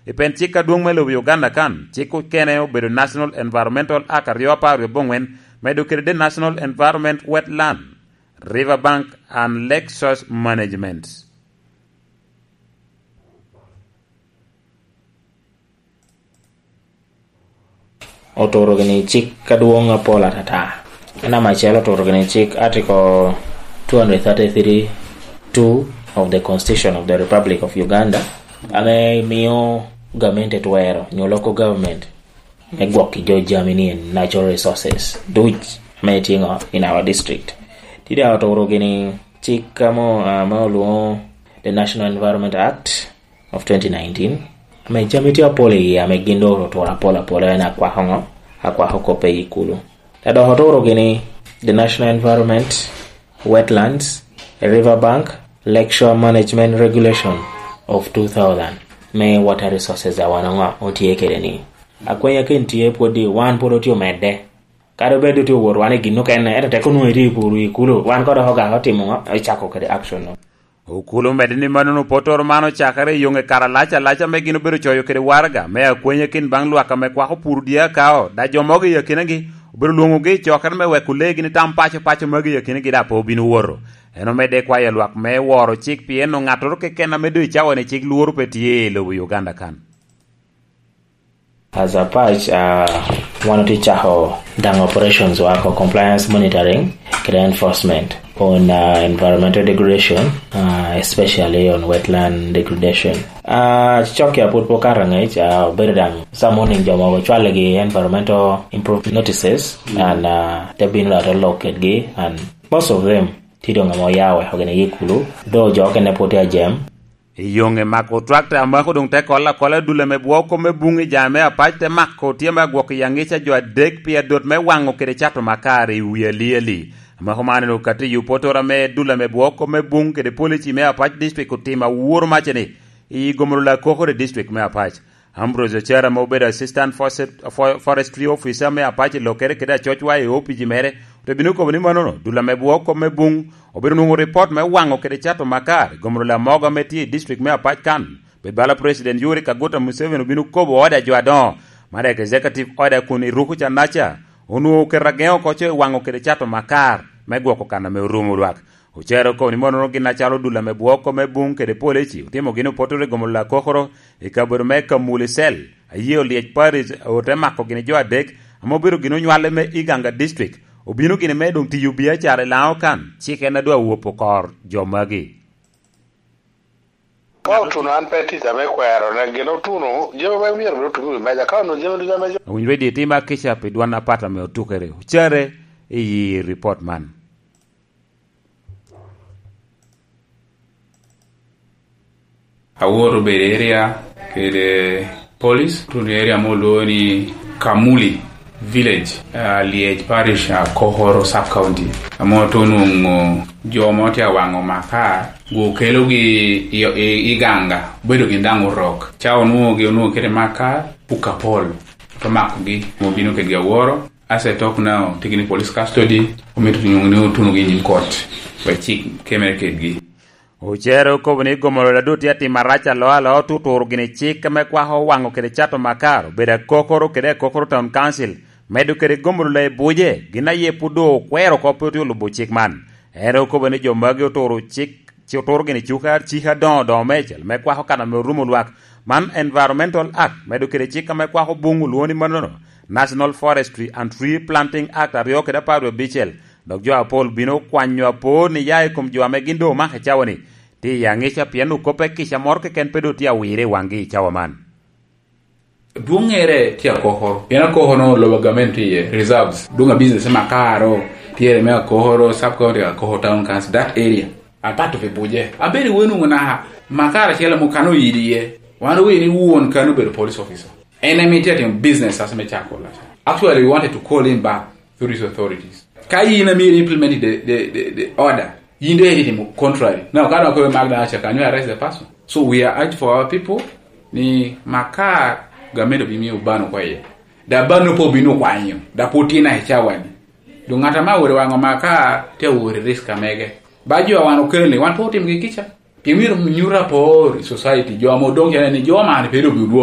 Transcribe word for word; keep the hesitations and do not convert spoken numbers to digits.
I pen cik adwoŋ me lobo Uganda kan, cik okene obedo National Environmental Act aryo apar wie abongwen, medo kede The National Environment Wetland, River Bank and Lake Source Management. Oturo gini cik adwoŋ apol atata. Namba acel, oturo gini cik Article two hundred thirty-three two of the Constitution of the Republic of Uganda, ame miyo gamente twero, nyo local government, me gwok i jo jami ni natural resources duc ame tye ŋo in our district. Tye daŋ oturo gini cik amo, ah, ame olwoŋo the National Environment Act of twenty nineteen, ame jami tye apol iye ame gin doŋ oturo apol apola, en akwako ŋo? Akwako koppe i kulu. Te dok oturo gini the National Environment, Wetlands, River Bank, Lakeshore Management Regulation of two thousand, me water resources a wan oŋo otye kede ni. Akwenya ken tye pwod i wan pwod otye omedde. Kadi obed otye owot wan i gin okene, ento tek onwoŋo itye i kuru i kulu, wan kod dok ogak otimo ŋo? Ocako kede action no. Okulu omedde ni mannono potoro man ocakere i yoŋe kare alac alac ame gin obedo coyo kede waraga me akwenye kin baŋ lwak ame kwako puro dye akao, da jo mogo i akinagi obedo lwoŋogi i cokere me weko leegi ni tam paco paco magi i akinagi da pe obino woto. En omedde kwayo lwak me woro cik pien oŋattoro keken ame doŋ i cawa-ni cik lworo pe tye i lobo Uganda kan. As a patch, uh, wan otye cako daŋ operations wa ko compliance monitoring kede enforcement on, uh, environmental degradation, uh, especially on wetland degradation. Uh, cok ya pwod pe okato angec, uh, obedo daŋ some morning jo mogo cwaligi environmental improvement notices, and, uh, te bino da te lok kedgi, and most of them tye doŋ ame oya weko gin i kulu, though jo okene pwod tye ajem. I yoŋe mako twakta amako doŋ te kolo akola dul ame bwoko me buŋ i jami me apac te mako tye me agwok i aŋica jo adek pi adot me waŋo kede cato makar i wi aliali. Amako man en okati i opotoro ame dul ame bwoko me buŋ kede polici me apac district otimo aworo macce-ni i gomoro lakokoro i district me apac. Ambrose Ocero ame obedo Assistant Forest-, Fo-, Forestry Officer me apac i lokere kede acocwa i opici mere, ote bino kobo ni mannono dul ame bwoko me buŋ obedo nwoŋo ripot me waŋo kede cato makar i gomoro lamogo ame tye i district me apac kan. Pe bala President Yoweri Kaguta Museveni obino kobo ode a jo adoŋo, mano executive order kun i ruku ca naca, onwoŋo oketo ageŋo oko co i waŋo kede cato makar me gwoko kan ame orumo lwak. Ocero okobo ni monono gin acalo dul ame bwoko me buŋ kede polici otimo gin opotoro i gomoro lakokoro i kabedo me Kamuli Cell, aye olyec Paris ote mako gini jo adek ame obedo gin onywale me Iganga District, obino gini me doŋ tiyo biacara i Laŋo kan, cik en adwa wopo kor jo magi. Ka otuno an pe tica me kwero, ne gin otuno, jami me myero bed otuno i meja, ka onwoŋo jami ducu ame jo. Awinyo redio itima kica pi dwan apat ame otukere, ocere i report man. Awor obedo area kede police, tun area mo olwongo ni Kamuli Village, ah, Liej Parish, ah, Kokoro Sub County. Amo to onwoŋo jo mo tye awaŋo makar, gu okelogi i, i, i Ganga, obedo gin daŋ orok. Ca onwoŋogi, onwoŋo kede makar, puka pol. To makogi, obino kedgi aworo. As I talk now, tye gini police custody, omito nyuŋ ni otunogi i nyim kot, wek cik kemere kedgi. Ocere okobo ni gomoro ladot tye atimo arac alo alo, tuturo gini cik me kwako waŋo kede cato makar, obedo akokoro kede akokoro Town Council, medo kede gomoro la i buce, gin aye pwod doŋ okwero oko pe otye olubo cik man. En okobo ni jo magi oturo cik, ci oturo gini cuk a-, cik adoŋo doŋo meicel me kwako kan ame orumo lwak. Man Environmental Act, medo kede cik ame kwako buŋ olwoŋo ni mannono, National Forestry and Tree Planting Act aryo kede apar wie abicel, dok jo apol bino kwanyo apor ni ya i kom jo ame gin doŋ omako i cawa-ni, tye i aŋica pien okoppe kica moro keken pe doŋ tye awire i waŋgi i cawa man. Dwoŋŋere tye akokoro, pien akokoro lobo a gamente iye, reserves, dwoŋ a business me akaro, tye me akokoro, sub county akokoro, town council, that area. Apato pi buce. Abedo wenu naka makar acel ame okano oyidi iye. Wan owe ni won kano obedo police officer. En ame tye atimo business as me cako lac. Actually, we wanted to call him back through his authorities. Ka yin ame implement the, the, the, the order, yin doŋ itimo contrary. Now, ka doŋ akobo mak doŋ aca, can you arrest the person? So we are urged for our people ni makar gamente obimiyo ban oko iye. Da ban opo obino kwanyo, da pwod tin a i cawani. Doŋ ŋat ame awot i waŋ Omaka tye awot i risk amege. Ba jo a wan okelo ni, wan pe otimo gi kica. Pien myero nyuto apor i society, jo ame odoŋ cene ni jo man pe doŋ bi odwo.